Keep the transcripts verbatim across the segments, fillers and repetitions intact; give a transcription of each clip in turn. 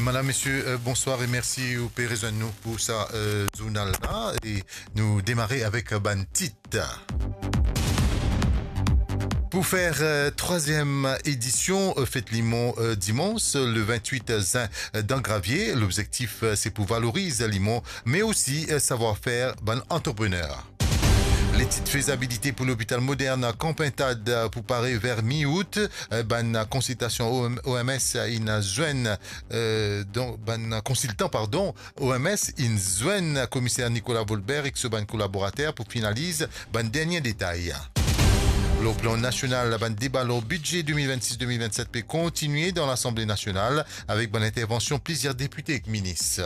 Madam, mesie, euh, bonswar e mersi ou pe rezwenn nou pou sa, euh, zournal la. E nou demare avek, euh, bann tit. Pou fer, euh, trwaziem edision, euh, Fet Limon, euh, dimans, euh, le vintwit zin, euh, dan Gravie, lobzektif, euh, se pou valoriz limon, me osi, euh, savwar-fer bann antreprener. Letid fezabilite pou lopital modern Kanpintad, euh, pou pare ver mi-out. Euh, bann konsiltasion O M, O M S inn zwenn, euh, donk, bann konsiltan, pardon, O M S inn zwenn komiser Nicolas Volbert ek so bann kolaborater pou finaliz bann dernie detay. Lor plan nasional, bann deba lor bidze de mil vennsis de mil vennset pe kontigne dan Lasanble Nasional avek bann intervansion plizier depite ek minis.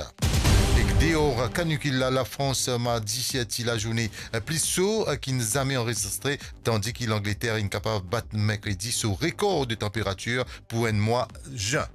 Ek deor kanikil la, Lafrans, mardi, ti lazourne pli so ki zame anrezistre, tandi ki Langleter inn kapav bat merkredi so rekor de tanperatir pou enn mwa zin.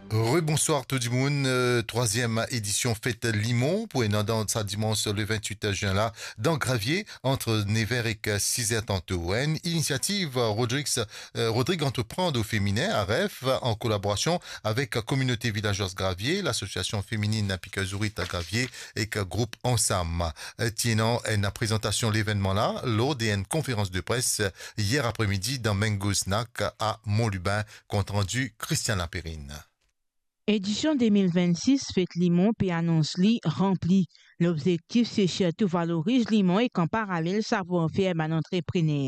Rebonswar tou dimoun, euh, trwaziem edision Fet Limon pou ena dan sa dimans le vintwit zin la, dan Gravie, ant nev er ek siz er tanto. Enn inisiativ Rodrigues, euh, Rodrig Entreprendre au Féminin, A R F, an kolaborasion avek Communauté Villageoise Gravie, Lasosiasion Femininn Pikeur Zourit Gravie ek group Ansam. Ti ena enn prezantasion levennman la lor de enn konferans de pres yer apremidi dan Mango Snack a Mont Lubin. Kontrandi Christian Laperrine. Edision de mil vennsis Fet Limon pe anons li ranpli. Lobzektif se sirtou valoriz limon ek an paralel savwar-fer bann antreprener.